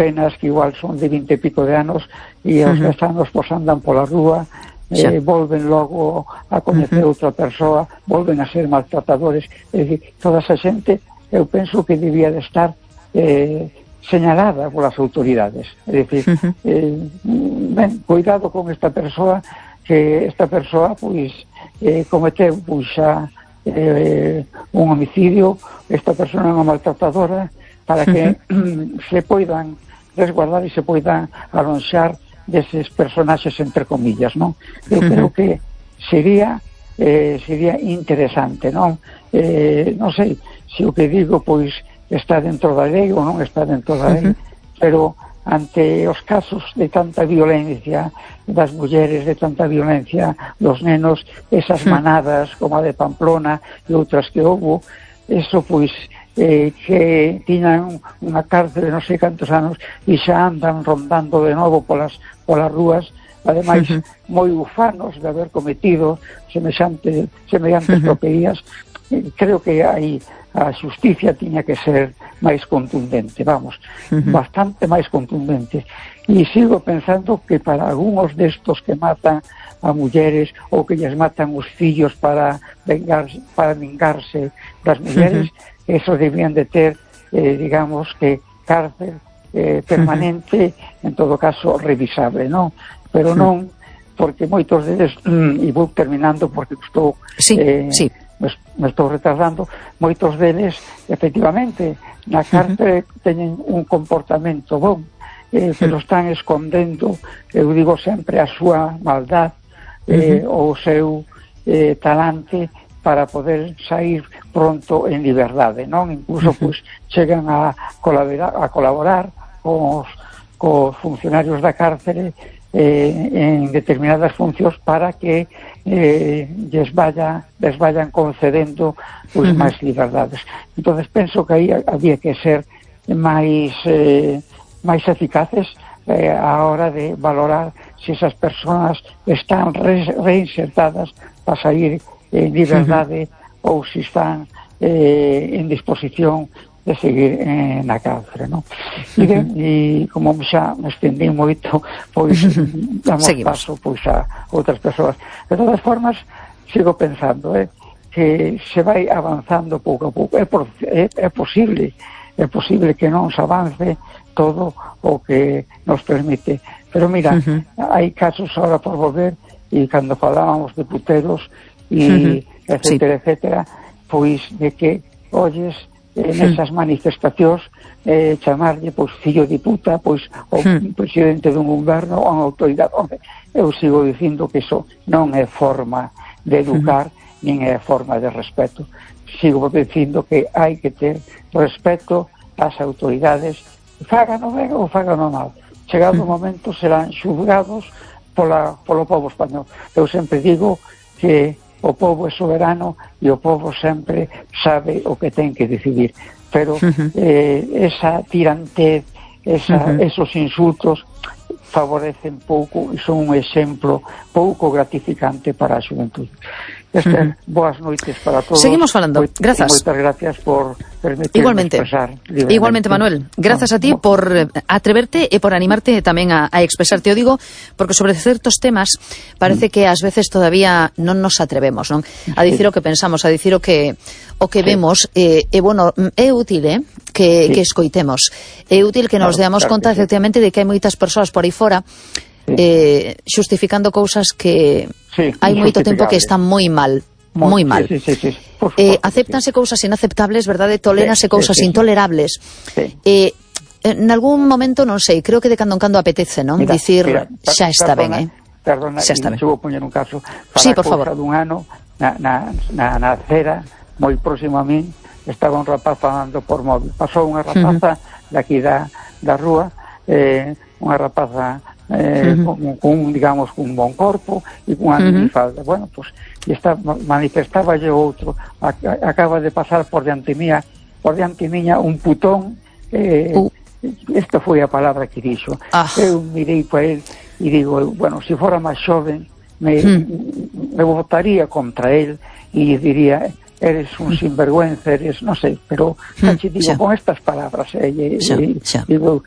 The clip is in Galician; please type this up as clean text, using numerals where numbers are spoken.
penas que igual son de 20 e pico de anos e aos 10 anos pues andan pola rúa, volven logo a coñecer outra persoa, volven a ser maltratadores. É dicir, toda esa xente eu penso que debía de estar señalada polas autoridades. É dicir, cuidado con esta persoa, que esta persoa pois cometeu pois xa un homicidio, esta persona é unha maltratadora, para que se poidan resguardar e se poidan alonxar deses personaxes entre comillas, non? Eu creo que sería interesante, non? Non sei se o que digo pois está dentro da lei ou non está dentro da lei, pero ante os casos de tanta violencia das mulleres, de tanta violencia dos nenos, esas manadas como a de Pamplona e outras que houbo, eso pois que tiñan unha cárcel de non sei cantos anos e xa andan rondando de novo polas rúas, ademais moi ufanos de haber cometido semellantes tropelías. Creo que aí a xusticia tiña que ser máis contundente, vamos, bastante máis contundente. E sigo pensando que para algúns destos que matan a mulleres ou que lles matan os fillos para vingarse das mulleres, eso debían de ter, digamos que cárcel permanente, en todo caso revisable, non? Pero non, porque moitos deles, e vou terminando porque estou me estou retardando, moitos deles efectivamente na cárcel teñen un comportamento bon, pero están escondendo, eu digo sempre, a súa maldad ou o seu talante para poder sair pronto en liberdade, non? Incluso pois chegan a colaborar cos funcionarios da cárcere en determinadas funcións para que les vayan concedendo pois máis liberdades. Entonces penso que aí había que ser máis eficaces a hora de valorar se esas persoas están reinsertadas para sair en liberdade ou se están en disposición de seguir na cárcere, non? E como xa me estendí moito, pois damos paso pois a outras persoas. De todas formas, sigo pensando que se vai avanzando pouco a pouco. É posible que non se avance todo o que nos permite. Pero mira, hai casos ahora por volver, e cando falábamos de puteros e etcétera, etcétera, pois de que olles nesas manifestacións chamarlle pois fillo de puta, pois o presidente dun goberno ou unha autoridade. Eu sigo dicindo que iso non é forma de educar nin é forma de respeto. Sigo dicindo que hai que ter respeto ás autoridades, fágano ben ou fágano mal. Chegado o momento serán xulgados polo pobo español. Eu sempre digo que o pobo é soberano e o pobo sempre sabe o que ten que decidir, pero esa tirantez, esos insultos favorecen pouco e son un exemplo pouco gratificante para a xuventude. Boas noites para todos. Seguimos falando. Grazas. Moitas gracias por permitirme expresar libremente. Igualmente, Manuel. Grazas a ti por atreverte e por animarte tamén a expresarte. O digo porque sobre certos temas parece que ás veces todavía non nos atrevemos, non? A dicir o que pensamos, a dicir o que vemos, e bueno, é útil, que escoitemos. É útil que nos deamos conta, efectivamente, de que hai moitas persoas por aí fora xustificando cousas que hai moito tempo que están moi mal. Moi mal. Acéptanse cousas inaceptables, verdade? Toléranse cousas intolerables. En algún momento, non sei, creo que de cando en cando apetece, non? Dicir, xa está ben, Perdona, se vou poñer un caso. Sí, por favor. Dun ano, na acera, moi próximo a min, estaba un rapaz falando por móvil. Pasou unha rapaza daqui da rúa, unha rapaza con digamos, un bon corpo e con unha minifalda. Bueno, pues, manifestaba yo outro, acaba de pasar por diante miña un putón, esta foi a palabra que dixo. Eu mirei para él e digo, bueno, se fora máis xoven me votaría contra él e diría, eres un sinvergüenza, eres, non sei, pero digo, con estas palabras digo,